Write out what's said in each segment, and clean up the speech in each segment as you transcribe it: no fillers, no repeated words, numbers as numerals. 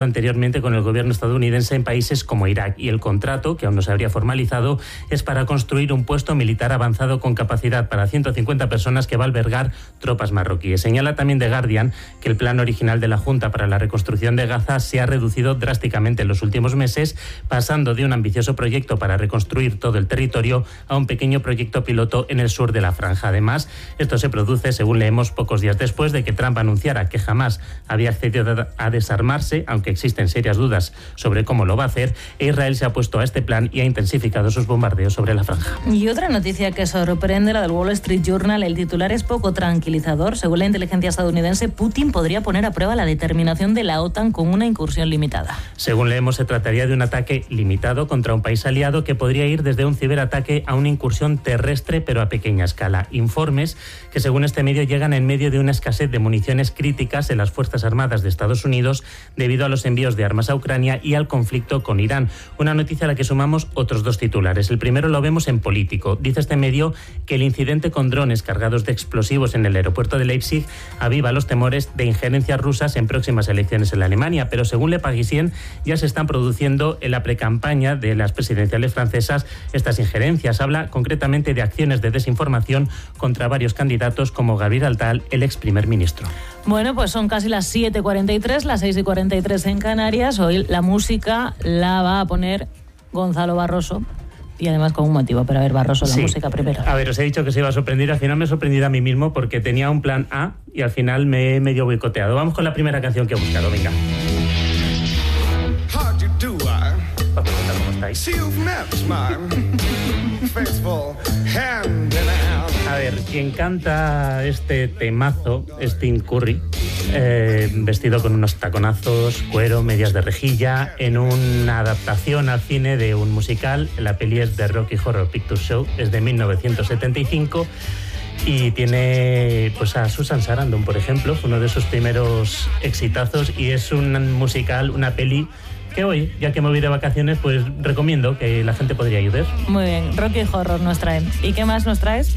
anteriormente con el gobierno estadounidense en países como Irak, y el contrato, que aún no se habría formalizado, es para construir un puesto militar avanzado con capacidad para 150 personas que va a albergar tropas marroquíes. Señala también The Guardian que el plan original de la Junta para la reconstrucción de Gaza se ha reducido drásticamente en los últimos meses, pasando de un ambicioso proyecto para reconstruir todo el territorio a un pequeño proyecto piloto en el sur de la franja. Además, esto se produce, según leemos, pocos días después de que Trump anunciara que jamás había accedido a desarmarse, aunque existen serias dudas sobre cómo lo va a hacer, e Israel se ha opuesto a este plan y ha intensificado sus bombardeos sobre la franja. Y otra noticia que sorprende, la del Wall Street Journal. El titular es poco tranquilizador. Según la inteligencia estadounidense, Putin podría poner a prueba la determinación de la OTAN con una incursión limitada. Según leemos, se trataría de un ataque limitado contra un país aliado que podría ir desde un ciberataque a una incursión terrestre, pero a pequeña escala. Informes que, según este medio, llegan en medio de una escasez de municiones críticas en las Fuerzas Armadas de Estados Unidos debido a los envíos de armas a Ucrania y al conflicto con Irán. Una noticia a la que sumamos otros dos titulares. El primero lo vemos en Político. Dice este medio que el incidente con drones cargados de explosivos en el aeropuerto de Leipzig aviva los temores de injerencias rusas en próximas elecciones en la Alemania, pero según Le Parisien ya se están produciendo en la precampaña de las presidenciales francesas estas injerencias. Habla concretamente de acciones de desinformación contra varios candidatos como Gabriel Attal, el ex primer ministro. Bueno, pues son casi las 7:43, las 6:43 en Canarias. Hoy la música la va a poner Gonzalo Barroso. Y además con un motivo, pero a ver, Barroso, la música primero. A ver, os he dicho que se iba a sorprender, al final me he sorprendido a mí mismo porque tenía un plan A y al final me he medio boicoteado. Vamos con la primera canción que he buscado, venga. Para preguntar cómo estáis. A ver, quien canta este temazo es Tim Curry, vestido con unos taconazos, cuero, medias de rejilla, en una adaptación al cine de un musical. La peli es de Rocky Horror Picture Show, es de 1975 y tiene pues a Susan Sarandon, por ejemplo, fue uno de sus primeros exitazos, y es un musical, una peli que hoy, ya que me voy de vacaciones, pues recomiendo que la gente podría ir. Muy bien, Rocky Horror nos trae. ¿Y qué más nos traes?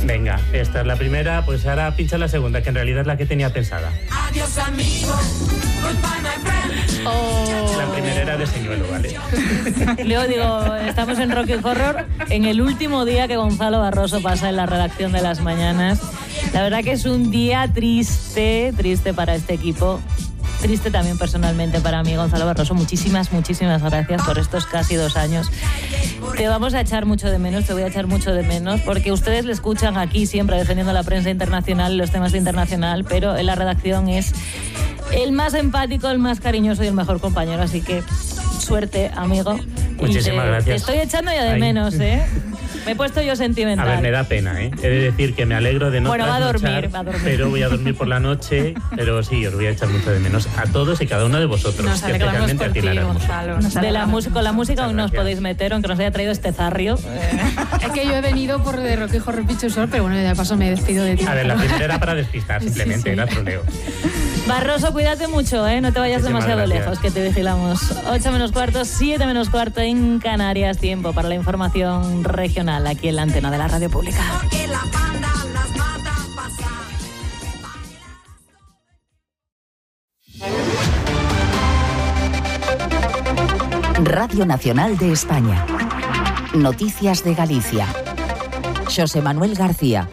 Venga, esta es la primera, pues ahora pincha la segunda, que en realidad es la que tenía pensada. Adiós, amigo. Goodbye, my friend. Oh. La primera era de señuelo, ¿vale? Luego digo, estamos en Rocky Horror, en el último día que Gonzalo Barroso pasa en la redacción de Las Mañanas. La verdad que es un día triste para este equipo. Triste también personalmente para mí, Gonzalo Barroso. Muchísimas gracias por estos casi 2 años. Te vamos a echar mucho de menos, te voy a echar mucho de menos, porque ustedes le escuchan aquí siempre defendiendo la prensa internacional, los temas de internacional, pero en la redacción es el más empático, el más cariñoso y el mejor compañero. Así que suerte, amigo. Muchísimas gracias. Te estoy echando ya de menos, ¿eh? Me he puesto yo sentimental. A ver, me da pena, ¿eh? He de decir que me alegro de no trasnochar, va a dormir. Pero voy a dormir por la noche, pero sí, os voy a echar mucho de menos a todos y cada uno de vosotros. Nos alegramos por ti, Gonzalo. Con la música aún no os podéis meter, aunque nos haya traído este zarrio. Es que yo he venido por de Rocky Horror Picture Show, pero bueno, de paso me despido de ti. A ver, la primera era para despistar, simplemente, era troleo. Barroso, cuídate mucho, ¿eh? No te vayas demasiado lejos, que te vigilamos. 8:15, 7:15 en Canarias. Tiempo para la información regional aquí en la antena de la Radio Pública. Radio Nacional de España. Noticias de Galicia. Xosé Manuel García.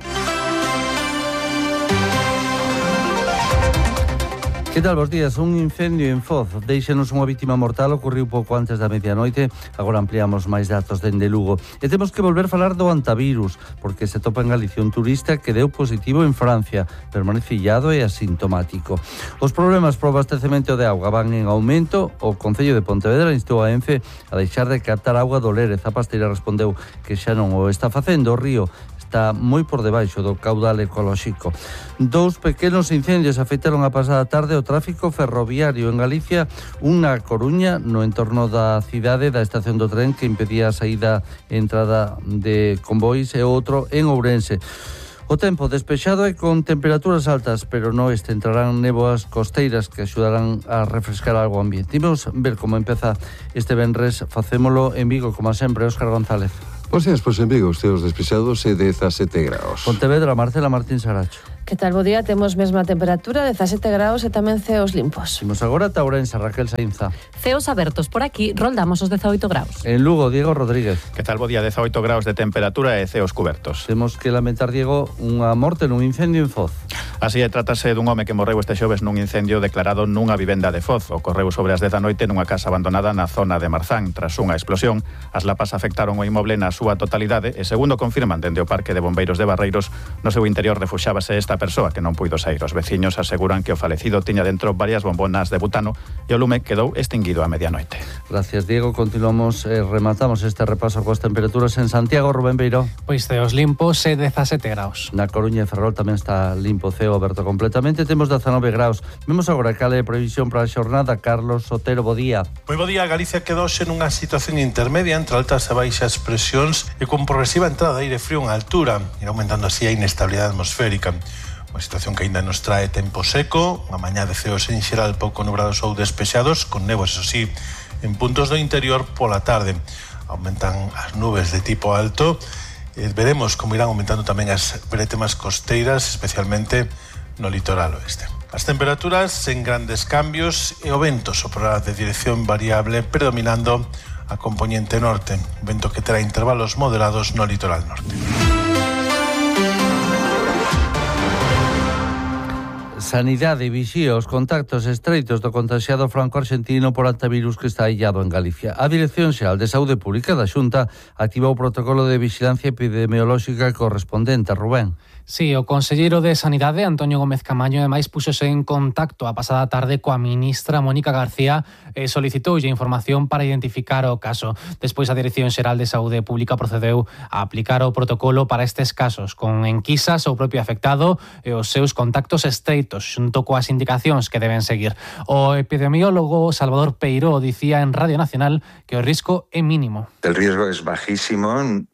Que tal, bos días? Un incendio en Foz deixanos unha vítima mortal, ocorriu pouco antes da medianoite. Agora ampliamos máis datos dende Lugo. E temos que volver a falar do antivirus, porque se topa en Galicia un turista que deu positivo en Francia, permanece illado e asintomático. Os problemas pro abastecemento de auga van en aumento. O Concello de Pontevedra instou a Ence a deixar de captar auga do Lérez. A Pasteira respondeu que xa non o está facendo. O río está moi por debaixo do caudal ecolóxico. 2 pequenos incendios afectaron a pasada tarde o tráfico ferroviario en Galicia, un na Coruña, no entorno da cidade, da estación do tren, que impedía a saída e entrada de convois, e outro en Ourense. O tempo despexado e con temperaturas altas, pero no este entrarán néboas costeiras que axudarán a refrescar algo o ambiente. Imos ver como empeza este venres, facémolo en Vigo, como sempre, Óscar González. Bos días, pois en Vigo, os teos despexados e 17 graus. Pontevedra, Marcela Martín Saracho. Que tal bo día? Temos mesma temperatura, 17 graus e tamén ceos limpos. Imos agora ata Ourense, Raquel Sainza. Ceos abertos por aquí, roldamos os 18 graus. En Lugo, Diego Rodríguez. Que tal bo día? 18 graus de temperatura e ceos cubertos. Temos que lamentar, Diego, unha morte nun incendio en Foz. Así é, trátase dun home que morreu este xoves nun incendio declarado nunha vivenda de Foz. Ocorreu sobre as 10 da noite nunha casa abandonada na zona de Marzán. Tras unha explosión, as lapas afectaron o inmoble na súa totalidade e, segundo confirman dende o Parque de Bombeiros de Barreiros, no seu interior refuxábase esta persoa que non puido sair. Os veciños aseguran que o falecido tiña dentro varias bombonas de butano e o lume quedou extinguido a medianoite. Gracias, Diego. Continuamos, rematamos este repaso coas temperaturas en Santiago. Rubén Beiró. Pois ceos limpos e 17 graus. Na Coruña e Ferrol tamén está limpo, ceo aberto completamente. Temos 19 graus. Vemos agora cal é a previsión para a xornada. Carlos Sotero, bo día. Moi bo día. Galicia quedouse nunha situación intermedia entre altas e baixas presións e con progresiva entrada de aire frío en altura, e aumentando así a inestabilidade atmosférica. Unha situación que aínda nos trae tempo seco, unha mañá de ceos en xeral pouco nubrados ou despexados, con néboas, eso sí, en puntos do interior pola tarde. Aumentan as nubes de tipo alto. Veremos como irán aumentando tamén as bretemas costeiras, especialmente no litoral oeste. As temperaturas sen grandes cambios e o vento soprará de dirección variable predominando a componente norte, vento que terá intervalos moderados no litoral norte. Sanidade vixía os contactos estreitos do contaxiado franco-argentino por antivirus que está illado en Galicia. A Dirección Xeral de Saúde Pública da Xunta activou o protocolo de vigilancia epidemiolóxica correspondente. Rubén. Sí, o conselleiro de Sanidade, Antonio Gómez Camaño, ademais puxose en contacto a pasada tarde coa ministra Mónica García e solicitoulle información para identificar o caso. Despois a Dirección Xeral de Saúde Pública procedeu a aplicar o protocolo para estes casos, con enquisas ao propio afectado e os seus contactos estreitos, xunto coas indicacións que deben seguir. O epidemiólogo Salvador Peiró dicía en Radio Nacional que o risco é mínimo. El riesgo es bajísimo.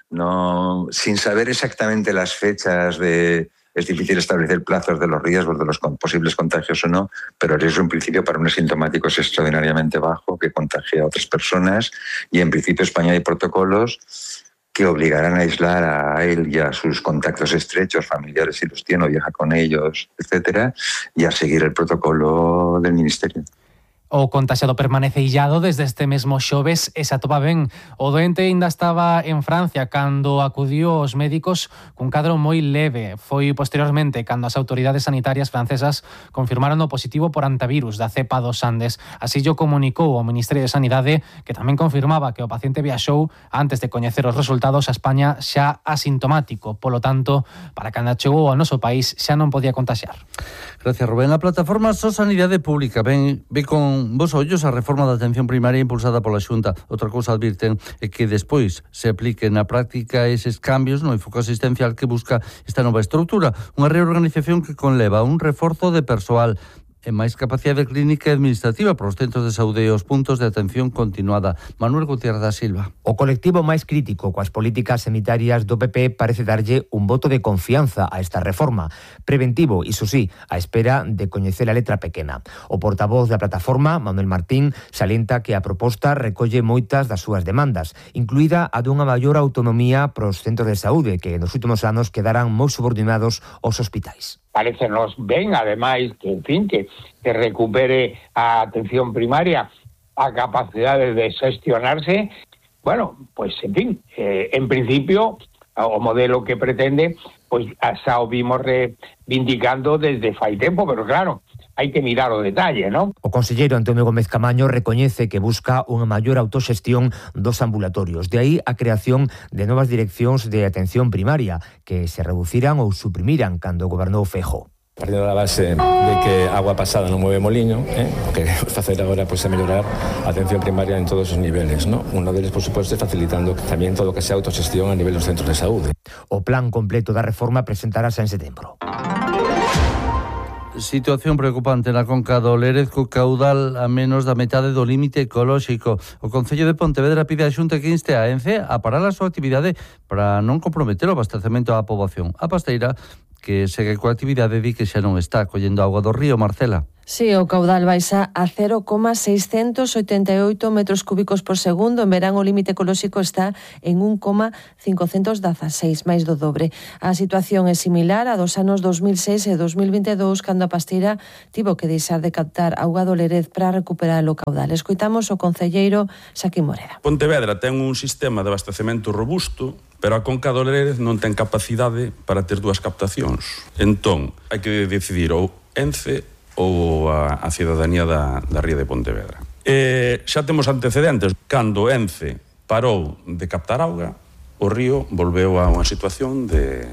No, sin saber exactamente las fechas es difícil establecer plazos de los riesgos, de los posibles contagios o no, pero el riesgo en principio para un asintomático es extraordinariamente bajo, que contagia a otras personas, y en principio España hay protocolos que obligarán a aislar a él y a sus contactos estrechos, familiares si los tiene o viaja con ellos, etcétera, y a seguir el protocolo del Ministerio. O contaxiado permanece illado desde este mesmo xoves e se atopa ben. O doente ainda estaba en Francia cando acudiu aos médicos cun cadro moi leve. Foi posteriormente cando as autoridades sanitarias francesas confirmaron o positivo por antivirus da cepa dos Andes. Así o comunicou o Ministerio de Sanidade, que tamén confirmaba que o paciente viaxou antes de coñecer os resultados a España xa asintomático. Polo tanto, para cando chegou ao noso país xa non podía contaxiar. Gracias, Rubén. A plataforma So Sanidade Pública ve con vos ollos a reforma da atención primaria impulsada pola Xunta. Outra cousa advirten é que despois se apliquen na práctica eses cambios no enfoque asistencial que busca esta nova estrutura, unha reorganización que conleva un reforzo de persoal e máis capacidade clínica e administrativa para os centros de saúde e os puntos de atención continuada. Manuel Gutiérrez da Silva. O colectivo máis crítico coas políticas sanitarias do PP parece darlle un voto de confianza a esta reforma. Preventivo, iso sí, a espera de coñecer a letra pequena. O portavoz da plataforma, Manuel Martín, salienta que a proposta recolle moitas das súas demandas, incluída a dunha maior autonomía para os centros de saúde que nos últimos anos quedaran moi subordinados aos hospitais. Parecenos ben, ademais, que, en fin, que recupere a atención primaria a capacidade de xestionarse. Bueno, pues, en fin, en principio, o modelo que pretende, pues, xa o vimos reivindicando desde fai tempo, pero claro, hai que mirar o detalle, ¿no? O conselleiro Antonio Gómez Camaño recoñece que busca unha maior autoxestión dos ambulatorios. De aí a creación de novas direccións de atención primaria que se reduciran ou suprimiran cando gobernou Feijóo. Partindo da base de que agua pasada non mueve moliño, o que facer agora é mellorar a atención primaria en todos os niveles, ¿no? Uno deles, por suposto, é facilitando tamén todo o que sea autoxestión a nivel dos centros de saúde. O plan completo da reforma presentarase en setembro. Situación preocupante na conca do Lérez, co caudal a menos da metade do límite ecolóxico. O Concello de Pontevedra pide á Xunta que inste a ENCE a parar a súa actividade para non comprometer o abastecemento á poboación. A Pasteira, que segue coa actividade, di que xa non está collendo auga do río. Marcela. Sí, o caudal baixa a 0,688 metros cúbicos por segundo. En verán o límite ecolóxico está en 1,516, máis do dobre. A situación é similar a dos anos 2006 e 2022, cando a Pasteira tivo que deixar de captar auga do Lérez para recuperar o caudal. Escoitamos o concelleiro Xaquín Moreda. Pontevedra ten un sistema de abastecemento robusto, pero a Conca do Lérez non ten capacidade para ter dúas captacións. Entón, hai que decidir ou Ence ou a cidadanía da ría de Pontevedra. Xa temos antecedentes. Cando Ence parou de captar auga, o río volveu a unha situación de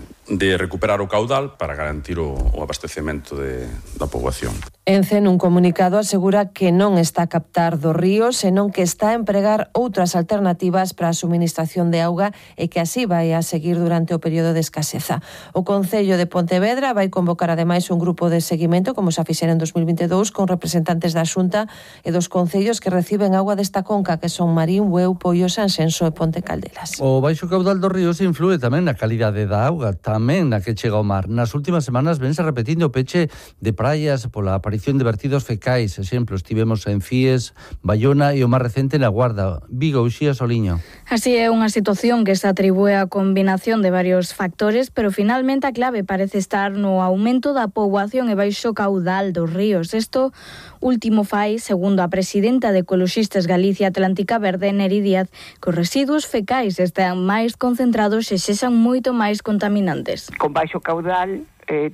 recuperar o caudal para garantir o abastecemento da poboación. Ence, nun comunicado, asegura que non está a captar do río, senón que está a empregar outras alternativas para a suministración de auga e que así vai a seguir durante o período de escaseza. O Concello de Pontevedra vai convocar ademais un grupo de seguimento, como xa fixera en 2022, con representantes da Xunta e dos concellos que reciben auga desta conca, que son Marín, Bueu, Poio, Sanxenxo e Ponte Caldelas. O baixo caudal dos ríos inflúe tamén na calidade da auga, tamén na que chega ao mar. Nas últimas semanas vense repetindo o peche de praias pola aparición de vertidos fecais. Exemplos, tivemos en Fies, Bayona e o máis recente na Guarda, Vigo, Uxía, Soliño. Así é unha situación que se atribúe a combinación de varios factores, pero finalmente a clave parece estar no aumento da poboación e baixo caudal dos ríos. Isto último fai, segundo a presidenta de Ecoloxistas Galicia Atlántica Verde, Neri Díaz, que os residuos fecais están máis concentrados e sexan moito máis contaminantes. Con baixo caudal,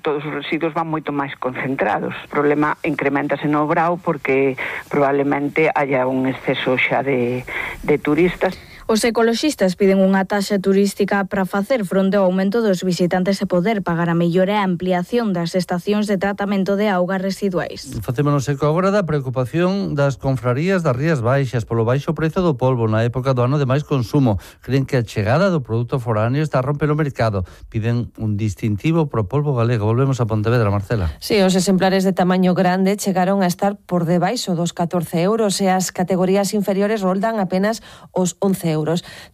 todos os residuos van moito máis concentrados. O problema incrementase no Brao porque probablemente haya un exceso xa de turistas. Os ecoloxistas piden unha taxa turística para facer fronte ao aumento dos visitantes e poder pagar a mellora e a ampliación das estacións de tratamento de augas residuais. Facémonos eco agora da preocupación das confrarías das Rías Baixas polo baixo prezo do polvo na época do ano de máis consumo. Creen que a chegada do produto foráneo está a romper o mercado. Piden un distintivo pro polvo galego. Volvemos a Pontevedra, Marcela. Sí, os exemplares de tamaño grande chegaron a estar por debaixo dos 14 euros e as categorías inferiores roldan apenas os 11 euros.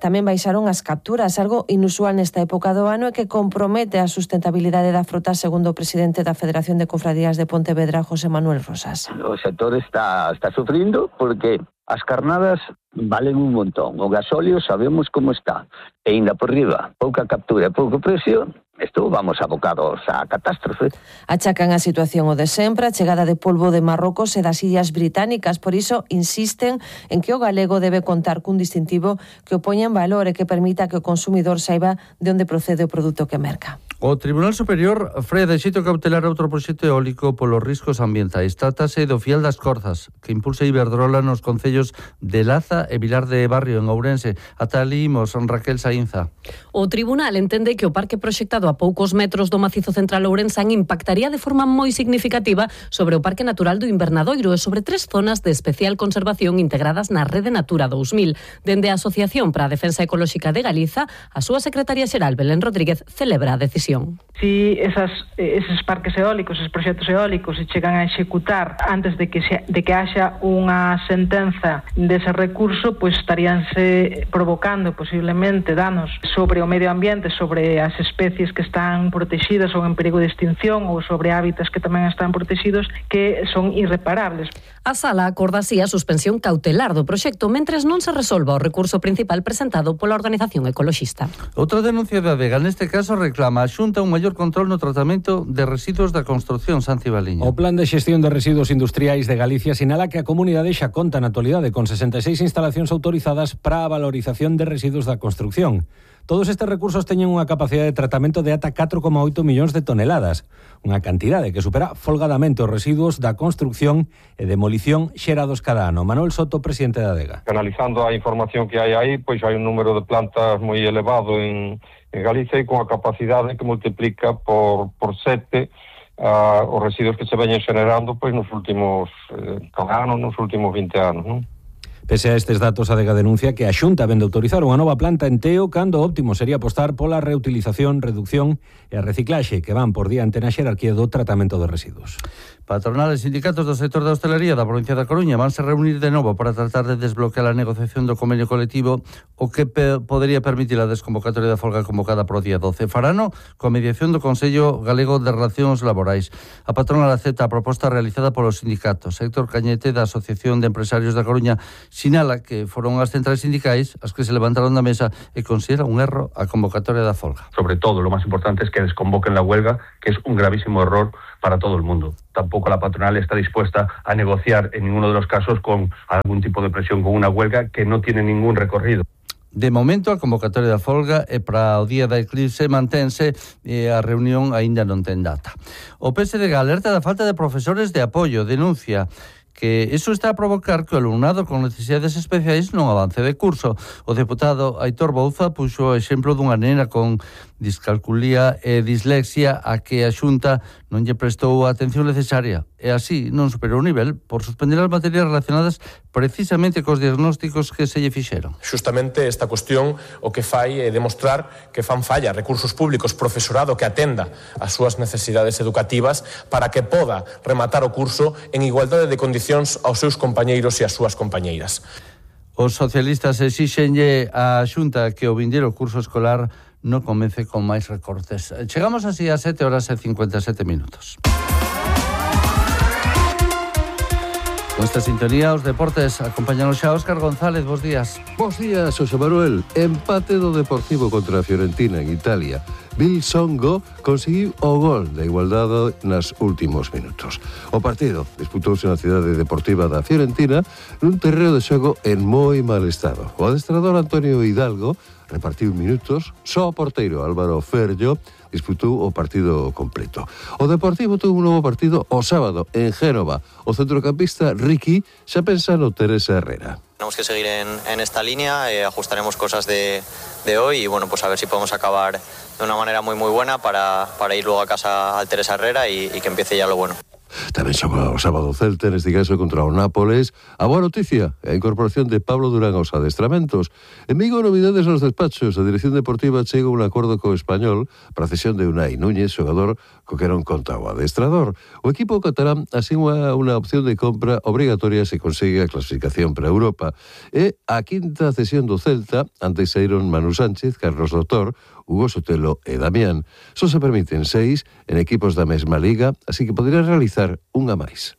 Tamén baixaron as capturas, algo inusual nesta época do ano e que compromete a sustentabilidade da frota, segundo o presidente da Federación de Cofradías de Pontevedra, José Manuel Rosas. O sector está sufrindo porque as carnadas valen un montón. O gasóleo sabemos como está. E ainda por riba, pouca captura e pouco precio, isto vamos abocados a catástrofe. Achacan a situación o de sempre, a chegada de polvo de Marrocos e das Illas Británicas. Por iso insisten en que o galego debe contar cun distintivo que o poña en valor e que permita que o consumidor saiba de onde procede o produto que merca. O Tribunal Superior freia de xeito cautelar outro proxecto eólico polos riscos ambientais. Trátase do Fiel das Corzas, que impulsa Iberdrola nos concellos de Laza e Vilar de Barrio, en Ourense. Ata ali imos, Raquel Saínza. O Tribunal entende que o parque proxectado a poucos metros do macizo central ourensán impactaría de forma moi significativa sobre o Parque Natural do Invernadoiro e sobre 3 zonas de especial conservación integradas na Rede Natura 2000. Dende a Asociación para a Defensa Ecolóxica de Galiza, a súa secretaria xeral Belén Rodríguez celebra a decisión. Si eses parques eólicos, eses proxectos eólicos se chegan a executar antes de que haxa unha sentenza dese recurso, pois estaríanse provocando posiblemente danos sobre o medio ambiente, sobre as especies que están protegidas ou en perigo de extinción ou sobre hábitats que tamén están protegidos que son irreparables. A sala acorda así a suspensión cautelar do proxecto mentres non se resolva o recurso principal presentado pola organización ecoloxista. Outra denuncia da Vega, neste caso reclama a Xunta un maior control no tratamento de residuos da construción, Santi Baliño. O Plan de Xestión de Residuos Industriais de Galicia sinala que a comunidade xa conta na actualidade con 66 instalacións autorizadas para a valorización de residuos da construción. Todos estes recursos teñen unha capacidade de tratamento de ata 4,8 millóns de toneladas, unha cantidade que supera folgadamente os residuos da construción e demolición xerados cada ano. Manuel Soto, presidente da ADEGA. Analizando a información que hai aí, pois hai un número de plantas moi elevado en Galicia e con a capacidade que multiplica por 7 os residuos que se veñen xenerando pois nos últimos cada ano, nos últimos 20 anos, non? Pese a estes datos, a Adega denuncia que a Xunta vende autorizar unha nova planta en Teo cando o óptimo sería apostar pola reutilización, reducción e a reciclaxe que van por diante na xerarquía do tratamento de residuos. Patronales e sindicatos do sector da hostelería da provincia da Coruña vanse reunir de novo para tratar de desbloquear a negociación do convenio colectivo, o que podería permitir a desconvocatoria da folga convocada para o día 12. Farano coa mediación do Consello Galego de Relacións Laborais. A patronal acepta a proposta realizada polos sindicatos. Héctor Cañete, da Asociación de Empresarios da Coruña, sinala que foron as centrais sindicais as que se levantaron da mesa e considera un erro a convocatoria da folga. Sobre todo, lo más importante es que desconvoquen la huelga, que es un gravísimo error para todo el mundo. Tampoco la patronal está dispuesta a negociar en ninguno de los casos con algún tipo de presión, con una huelga que no tiene ningún recorrido. De momento, a convocatoria da folga é para o día da eclipse mantense e a reunión aínda non ten data. O PSDG alerta da falta de profesores de apoio, denuncia que iso está a provocar que o alumnado con necesidades especiais non avance de curso. O deputado Aitor Bouza puxo o exemplo dunha nena con discalculía e dislexia a que a Xunta non lle prestou a atención necesaria e así non superou o nivel por suspender as materias relacionadas precisamente cos diagnósticos que se lle fixeron. Justamente esta cuestión o que fai é demostrar que fan falla recursos públicos, profesorado que atenda as súas necesidades educativas para que poda rematar o curso en igualdade de condicións aos seus compañeiros e as súas compañeiras. Os socialistas exixenlle á Xunta que o vindeiro curso escolar non comece con máis recortes. Chegamos así a 7:57 minutos. Con esta sintonía, os deportes acompañanos xa Óscar González. Bos días. Bos días, Xosé Manuel. Empate do Deportivo contra a Fiorentina en Italia. Bill Songo conseguiu o gol da igualdade nas últimos minutos. O partido disputouse na cidade deportiva da Fiorentina nun terreo de xogo en moi mal estado. O adestrador Antonio Hidalgo repartiu minutos, só o porteiro Álvaro Ferllo disputou o partido completo. O Deportivo tuvo un novo partido o sábado en Génova. O centrocampista Ricky xa pensa no Teresa Herrera. Tenemos que seguir en esta línea, ajustaremos cosas de hoy y bueno, pues a ver si podemos acabar de una manera muy buena para ir luego a casa al Teresa Herrera y que empiece ya lo bueno. Tamén xoga o sábado Celta, neste caso contra o Nápoles. A boa noticia, a incorporación de Pablo Durán aos adestramentos. En Vigo, novidades nos despachos. A Dirección Deportiva chega un acordo co Español para a cesión de Unai Núñez, xogador co que non conta o adestrador. O equipo catalán asigua unha opción de compra obrigatoria se consigue a clasificación para Europa. E a quinta cesión do Celta, antes saíron Manu Sánchez, Carlos Doutor, Hugo Sotelo e Damián. Só se permiten 6 en equipos da mesma liga, así que poderá realizar unha máis.